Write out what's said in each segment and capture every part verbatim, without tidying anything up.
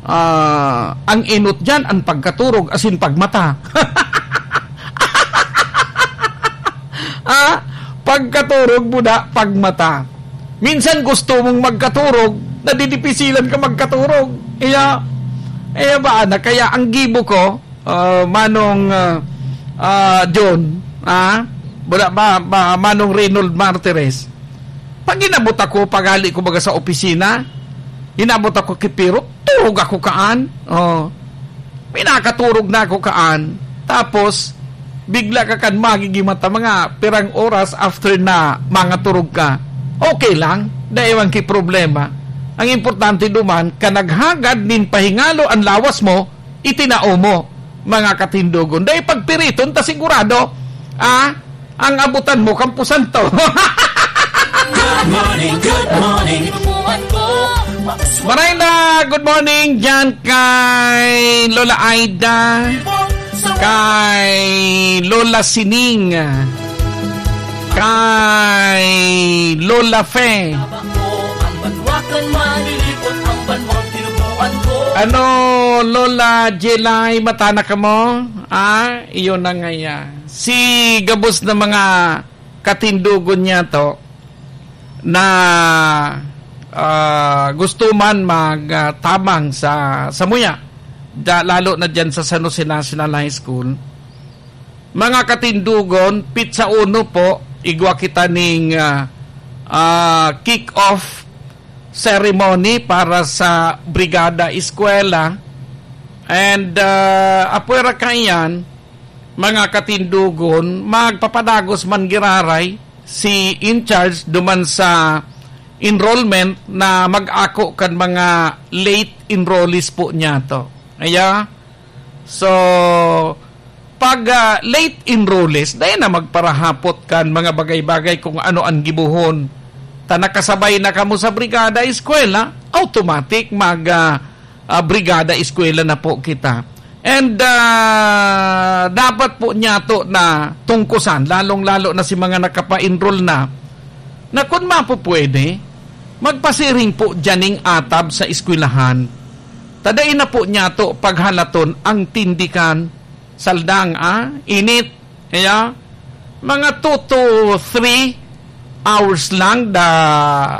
Ah, ang enot diyan, an pagkaturog, asin pagmata. Ah, pagkaturog mo na, pagmata. Minsan gusto mong magkaturog, nadidipisilan ka magkaturog. Iya, iya ba, anak? Kaya ang gibo ko, ah, Manong, ah, ah, John, ah, wala ba, ba, Manong Reynold Martires, pag inabot ako, paghali ko baga sa opisina, inabot ako ki Pirot, turog ako kaan. Oh. Pinakaturog na ako kaan. Tapos, bigla ka kan magigimata mga pirang oras after na mangaturog ka. Okay lang, dai man ki problema. Ang importante duman, kan naghagad nin pahingalo an lawas mo, itinao mo, mga katindogon. Dai pagpiriton ta sigurado, ah, ang abutan mo, kampusan to. Good morning, good morning. Maray na, good morning dyan kay Lola Aida, kay Lola Sining, kay Lola Fe. Ano, Lola Jelay, matanak ka mo? Ah, iyon na nga yan. Si gabos na mga katindogon niya to na, ah, gusto man mag, ah, tabang sa, sa muya, da-, lalo na dyan sa San Jose National High School. Mga katindogon, pitsa uno po, igwa kita ning, ah, ah, kick-off ceremony para sa Brigada Eskwela. And, ah, apwera kaiyan, mga katindogon, magpapadagos man giraray si in charge duman sa enrollment na mag-ako kan mga late enrollees po niya to. Aya? So, pag, ah, late enrollees, dai na magparahapot kan mga bagay-bagay kung ano an gibohon. Ta nakasabay na kamo sa Brigada Eskwela, automatic mag, ah, ah, Brigada Eskwela na po kita. And, ah, dapat po niyato na tungkusan, lalong-lalo na si mga nakapa-enroll na, na kun mapupwede, magpasiring po diyan ning atab sa eskwelahan. Ta dai na po niyato paghalaton ang tindikan, saldang, ah, init. Kaya, mga two to three hours lang da,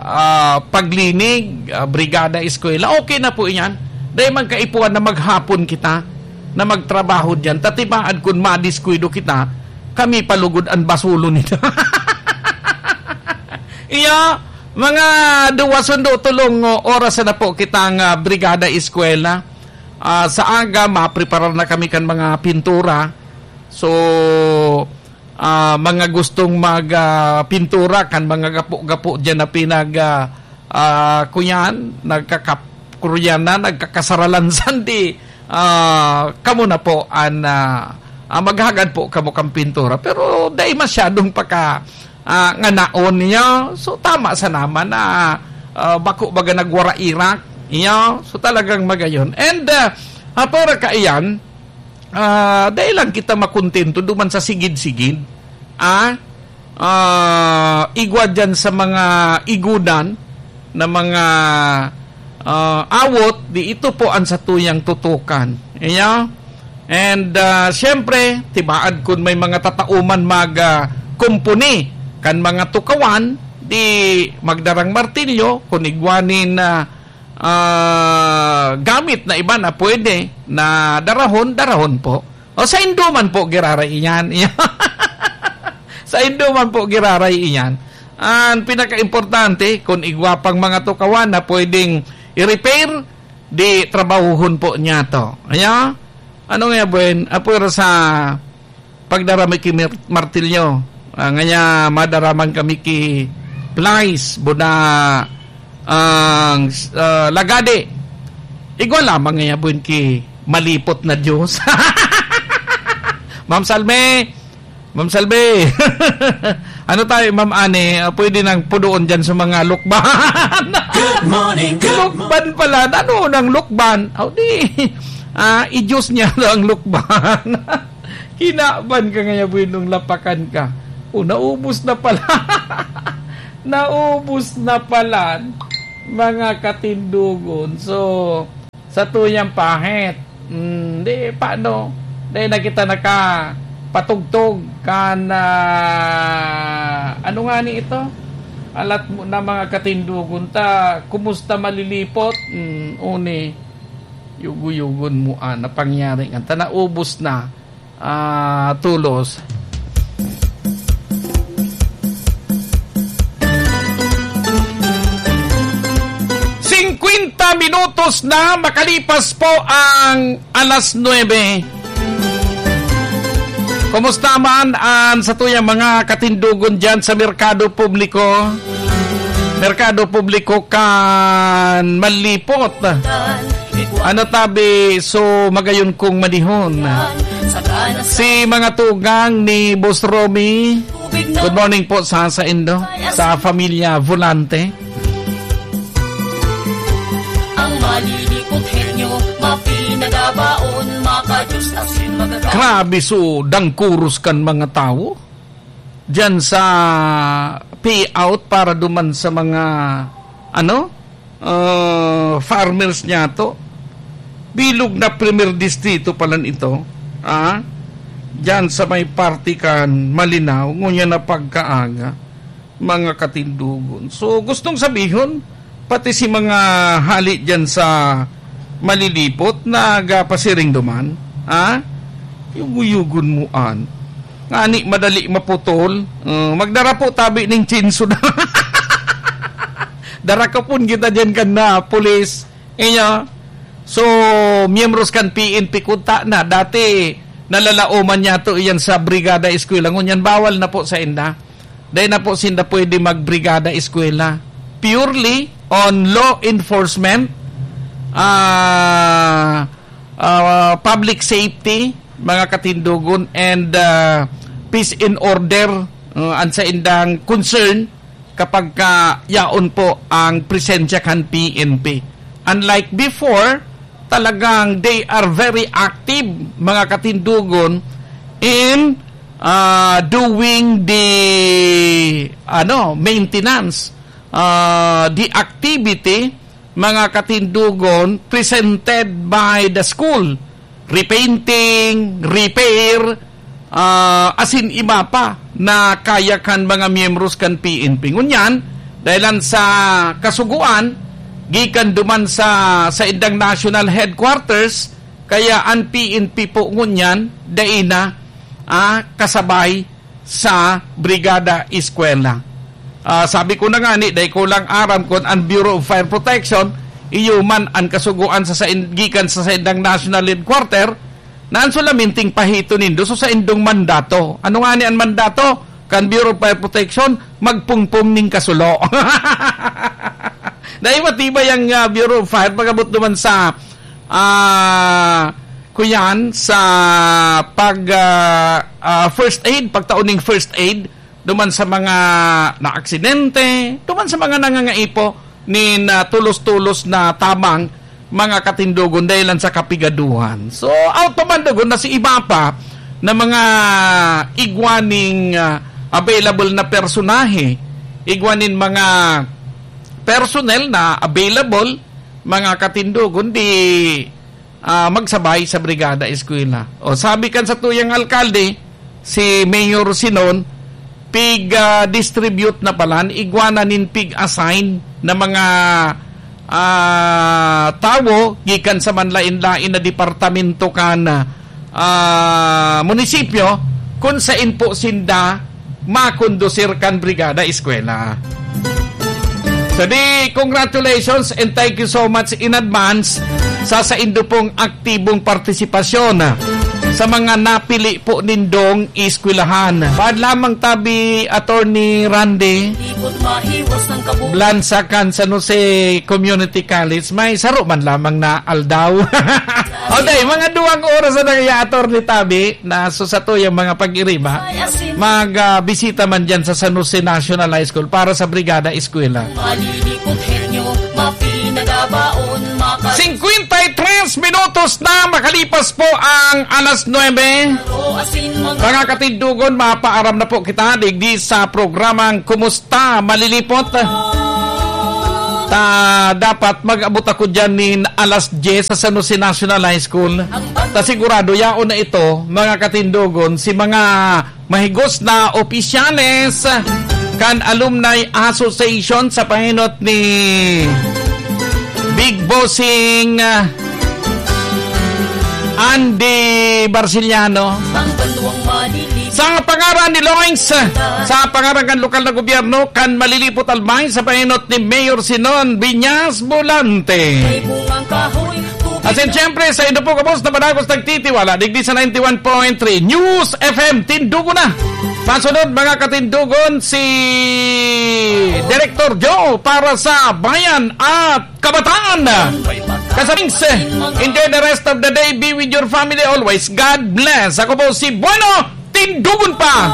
ah, paglinig, ah, brigada eskwela. Okay na po iyan. Dai man kaipuhan na maghapon kita na magtrabaho diyan. Ta tibaad kun madiskwida kita, kami pa lugod an basulon nito. Iya, mga duwa sundo tolong oras na po kitang, ah, brigada eskwela. Ah, sa aga, mapreparar na kami kan mga pintura. So, ah, mga gustong mag, ah, pintura kan mga gapo-gapo diyan na pinag, ah, ah, kuyan, nagkakap-, kuyan na, nagkakasaralansan, di, ah, kamo na po an, ah, ah, maghagad po kamo kan pintura. Pero dai masyadong paka, ah, nganaon niya. So, tama sa naman na, ah, bako baga nagwara-irak. Iyo, so talagang magayon. And, ah, ah, para kaiyan, ah, dai lang kita makontento duman sa sigid-sigid. Ah, ah, igwa dyan sa mga igudan na mga, ah, awot, di ito po ang satuyang tutukan. Iya? And, ah, siyempre, tibaad kun may mga tatao man mag, ah, kumpuni kan mga tukawan, di magdarang martilyo, kun igwa nin, ah, ah, gamit na iba na pwede na darahon, darahon po. O, saindo man po giraray iyan. Saindo man po giraray iyan. Ang pinakaimportante, kung igwa pang mga tukawan na pwedeng i-repair, di trabahuhon po niya to. Aya? Ano nga, buen? Apoy ra sa pagdara mi ki mir-, martilyo. Ah, ngaya madara man kami ki plies, buda, ang, ah, lagadi. Igwa lamang ngaya buin ki malipot na Diyos. Ma'am Salme, Ma'am Salme, ano tayo, Ma'am Ane, ah, pwede nang pudoon dyan sa mga lukban? Good morning, good morning. Lukban pala. Ano nang lukban? Aw, di. Ah, i-juice niya ang lukban. Kinaban ka ngaya, buenong lapakan ka. O, naubos na pala. Naubos na pala, mga katindogon. So, Sa tuyang pahit. Hmm, di, paano? Di na kita nakapatugtog kan, ah, ano nga ni ito? Alat mo na mga katindogon ta, kumusta malilipot? Hmm, uni, yugo-yugon mo, ah, napangyari nga ta, naubos na. Ah, tulos. Singkwenta minutos na makalipas po ang alas nuebe. Kumusta man ang sa tuyang mga katindogon dyan sa merkado publiko? Merkado publiko kan Malipot. Ano tabi, so magayon kong manihon. Si mga tugang ni Boss Romy. Good morning po sa, sa indo, sa familia Volante. Ang malilipot henyo, mapinagabaon, makajus asin magagawa. Grabe, so dangkuros kan mga tawo diyan sa payout para duman sa mga, ano, ah, farmers niyato. Bilog na Primer Distrito palan ito, ah, diyan sa may parte kan Malinao, ngunyan na pagkaaga, mga katindogon. So, gustong sabihon, pati si mga hali diyan sa Malilipot, nagapasiring duman, ah, yugo-yugon mo an. Ngani madali maputol. Uh, magdara po tabi ning chinso na. Dara ka pon kita diyan kan na pulis. Iya. So, miyembros kan P N P kunta na. Dati, nalalaoman niyato iyan sa Brigada Eskwela. Ngunyan, bawal na po sa inda. Dahil na po sinda pwede magbrigada eskwela. Purely on law enforcement, ah, ah, public safety, mga katindogon, and, ah, peace and order, uh, ang sa indang concern kapag ka yaon po ang presensya kan P N P. Unlike before, talagang they are very active, mga katindogon, in, ah, doing the, ano, maintenance, ah, the activity, mga katindogon, presented by the school. Repainting, repair, ah, asin iba pa na kaya kan mga miyembros kan P N P. Ngunyan, dahilan sa kasugoan, gikan duman sa, sa indang national headquarters, kaya an P N P po ngunyan, dai na, ah, kasabay sa Brigada Eskwela. Ah, sabi ko na nga ni, dai ko lang aram kun an Bureau of Fire Protection, iyo man an kasugoan sa, sa in-, gikan sa saindang national headquarter, na an solamenteng pahito nindo, so saindong mandato. Ano nga ni an mandato? Kan Bureau of Fire Protection, magpungpong ning kasulo. Dai matibay ang, ah, Bureau of Fire, pag-abot naman sa, ah, kuyan, sa pag, ah, ah, first aid, pagtao ning first aid, duman sa mga naaksidente, duman sa mga nangangaipo nin, ah, tulos-tulos na tabang, mga katindogon, dahilan sa kapigaduhan. So, out pa man dugon na si iba pa na mga igwa ning, ah, available na personahe, igwa nin mga personnel na available, mga katindogon, di ah, magsabay sa Brigada Eskwela. O, sabi kan satuyang alkalde, si Mayor Sinon, pig, ah, distribute na palan, igwa na nin pig-assign na mga, ah, tawo gikan sa manlain-lain na departamento kan, ah, munisipyo, kun sain po sinda makondusir kan Brigada Eskwela. So di, congratulations and thank you so much in advance sa saindo pong aktibong partisipasyon sa mga napili po nindong eskwelahan. Bad lamang tabi, Attorney Randy, Blansacan, San Jose Community College, may saro man lamang na aldaw. Okay, mga duwang oras na nangyay, Attorney Tabi, na so sa tuyang mga pag-iriba, mag, ah, bisita man dyan sa San Jose National High School para sa Brigada Eskwela. Singkwenta y tres minutos na makalipas po ang alas nuebe. Mga katindogon, mapaaram na po kita digdi sa programang Kumusta Malilipot? Ta dapat mag-abot ako diyan nin alas dyes sa San Jose National High School. Ta sigurado, yaon na ito, mga katindogon, si mga mahigos na opisyales kan Alumni Association sa pahinot ni Big Bossing, ah, Andy Barciliano. Sa pangaran ni Loins, sa pangaran kan lokal na gobyerno, kan Malilipot Albay, sa pahinot ni Mayor Sinon Viñas Volante. Asin siyempre, sa inyo po, kabos na padagos nagtitiwala, digdi sa ninety-one point three News F M, tindugo na. Pasunod, mga katindugon, si Director Joe para sa Bayan at Kabataan. Kasabings, enjoy the rest of the day. Be with your family always. God bless. Ako po si Bueno. Tindugon pa!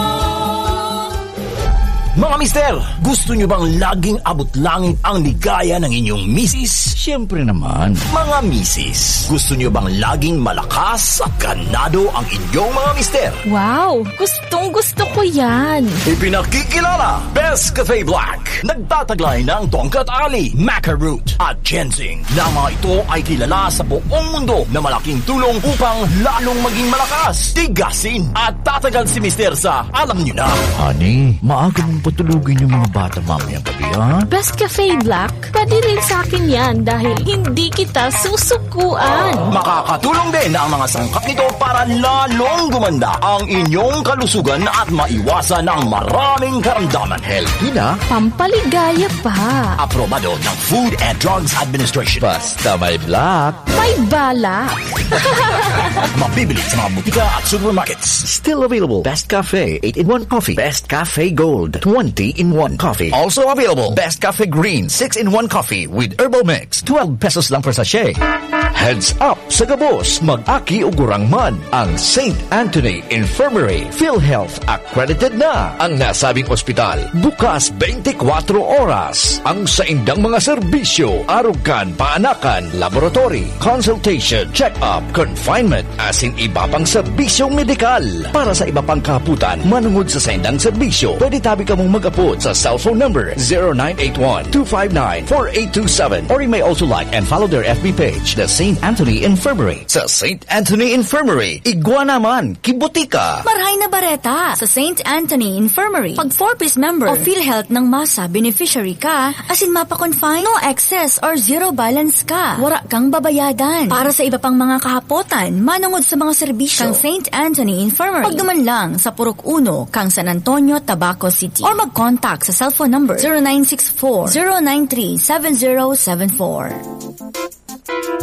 Mga mister, gusto nyo bang laging abot langit ang ligaya ng inyong misis? Siyempre naman. Mga misis, gusto nyo bang laging malakas at ganado ang inyong mga mister? Wow! Gustong gusto ko yan! Ipinakikilala, Best Cafe Black. Nagtataglay ng tongkat ali, maca root, at ginseng, na mga ito ay kilala sa buong mundo na malaking tulong upang lalong maging malakas, tigasin, at tatagal si Mister sa alam nyo na. Honey, maaga mong patulugin yung mga bata mamayang gabi, ha? Best Cafe Black, pwede rin sa akin yan dahil hindi kita susukuan. Makakatulong din ang mga sangkap nito para lalong gumanda ang inyong kalusugan at maiwasan ang maraming karamdaman. Healthy na. Pampaligaya pa. Aprobado ng Food and Drugs Administration. Basta may black. May balak. Mabibili sa mga butika at supermarkets. Still available. Best Cafe eight-in-one Coffee. Best Cafe Gold twenty-in-one Coffee. Also available. Best Cafe Green six-in-one Coffee with Herbal Mix. Twelve pesos lang per sachet. Heads up sa gabos, mag-aki o gurang man. Ang Saint Anthony Infirmary, PhilHealth accredited na. Ang nasabing ospital, bukas twenty-four oras. Ang saindang mga serbisyo, arog kan paanakan, laboratory, consultation, check-up, confinement, asin iba pang serbisyong medikal. Para sa iba pang kahapotan, manungod sa saindang serbisyo, pwede tabi kamong mag-abot sa cellphone number zero nine eight one, two five nine, four eight two seven, or you may also like and follow their F B page, The Saint Anthony Infirmary. Sa Saint Anthony Infirmary, igwa naman, kibutika. Marhay na bareta! Sa Saint Anthony Infirmary, pag four Ps member o PhilHealth ng MASA beneficiary ka, asin mapa-confine, no excess or zero balance ka. Wara kang babayadan. Para sa iba pang mga kahapotan, manungod sa mga serbisyo kan Saint Anthony Infirmary, pagduman lang sa Purok Uno, kan San Antonio, Tabaco City. Or mag-contact sa cellphone number zero nine six four, zero nine three, seven zero seven four.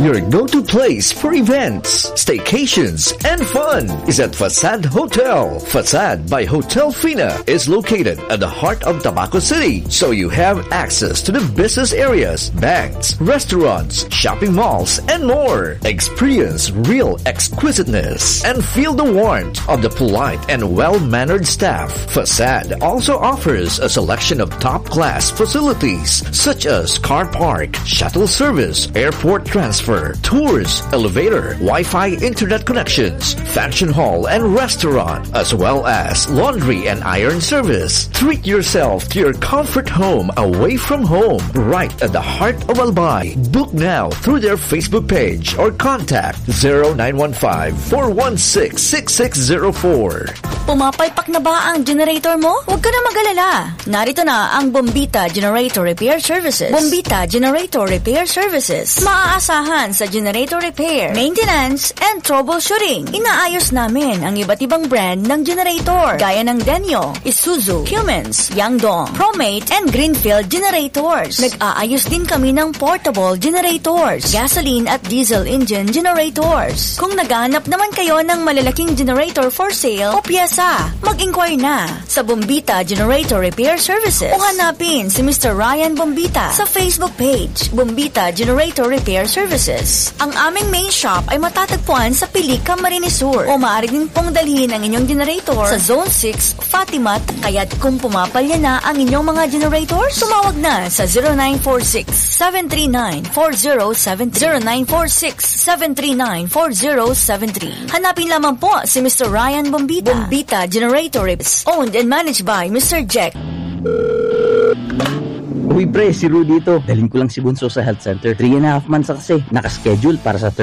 Your go-to place for events, staycations, and fun is at Facade Hotel. Facade by Hotel Fina is located at the heart of Tabaco City, so you have access to the business areas, banks, restaurants, shopping malls, and more. Experience real exquisiteness and feel the warmth of the polite and well-mannered staff. Facade also offers a selection of top-class facilities such as car park, shuttle service, airport transfer, tours, elevator, Wi-Fi internet connections, function hall and restaurant, as well as laundry and iron service. Treat yourself to your comfort home away from home, right at the heart of Albay. Book now through their Facebook page or contact zero nine one five, four one six, six six zero four. Pumapalpak na ba ang generator mo? Huwag ka na mag-alala. Narito na ang Bombita Generator Repair Services. Bombita Generator Repair Services. Maaasahan sa generator repair, maintenance, and troubleshooting. Inaayos namin ang iba't ibang brand ng generator, gaya ng Denyo, Isuzu, Cummins, Yangdong, Promate, and Greenfield generators. Nag-aayos din kami ng portable generators, gasoline at diesel engine generators. Kung naghahanap naman kayo ng malalaking generator for sale o pyesa, mag-inquire na sa Bombita Generator Repair Services o hanapin si Mister Ryan Bombita sa Facebook page, Bombita Generator Repair Services. Ang aming main shop ay matatagpuan sa Pilica, Marinesur, o maaari din pong dalhin ang inyong generator sa Zone six, Fatima, Tacayad. Kung pumapalya na ang inyong mga generator, tumawag na sa zero nine four six, seven three nine, four zero seven three, zero nine four six, seven three nine, four zero seven three. Hanapin lamang po si Mister Ryan Bombita. Bombita Generator Reps, owned and managed by Mister Jack. Uy pre, si Rudy ito. Dalhin ko lang si Bunso sa health center. Three and a half months na kasi. Nakaschedule para sa third